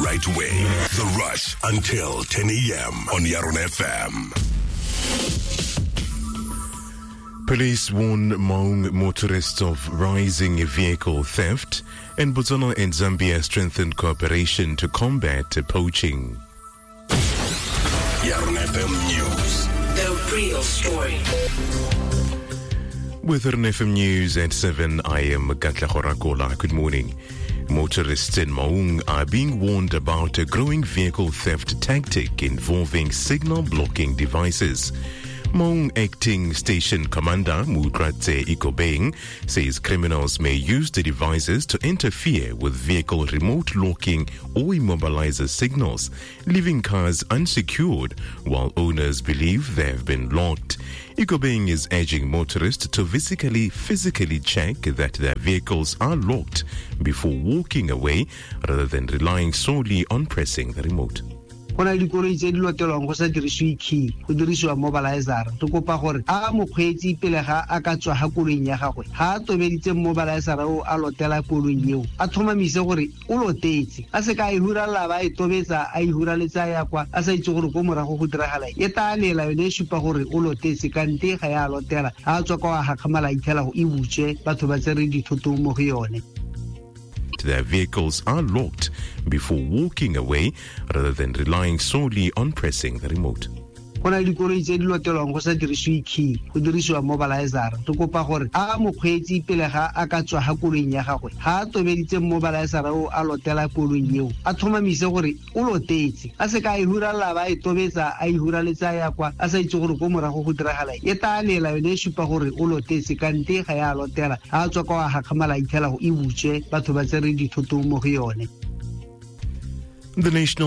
right way. The Rush until 10 a.m. on Yaron FM. Police warn Maung motorists of rising vehicle theft, and Botswana and Zambia strengthen cooperation to combat poaching. Yaron FM News. The real story. With RNFM News at 7, I am Gatla Horakola. Good morning. Motorists in Maung are being warned about a growing vehicle theft tactic involving signal blocking devices. Maung Acting Station Commander Mutratse Ikobeng says criminals may use the devices to interfere with vehicle remote locking or immobilizer signals, leaving cars unsecured while owners believe they have been locked. Ikobeng is urging motorists to physically, physically check that their vehicles are locked before walking away rather than relying solely on pressing the remote. Go na le dikoloi tse di lotelwang go sa dirisiwe key, go dirisiwa mobilizer. Re kopa gore a mokgweetsi pele ga a ka tswa ga koloing ya gagwe, ga a tobeditse mobilizer o a lotela koloi eo, a tlhomamise gore o lotetse, a se ka a e huralela ba e tobetsa a e huraletsa ya kwa a sa itse gore ko morago go diragala e tla lela yone e supa gore o lotetse, kante ga ya lotela. Ga a tswa kwa wa gakgamala itlhela go e butswe, batho ba tsere dithoto mo go yone. Their vehicles are locked before walking away rather than relying solely on pressing the remote. Go na le dikoloi tse di lotelwang go sa dirisiwe key, go dirisiwa mobilizer. Re kopa gore a mokgweetsi pele ga a ka tswa ga koloing ya gagwe, ga a tobeditse mobilizer o a lotela koloi eo, a tlhomamise gore o lotetse, a se ka a e huralela ba e tobetsa a e huraletsa ya kwa a sa itse gore ko morago go diragala e tla lela yone e supa gore o lotetse, kante ga ya lotela. Ga a tswa kwa wa gakgamala itlhela go e butswe, batho ba tsere dithoto mo go yone. The National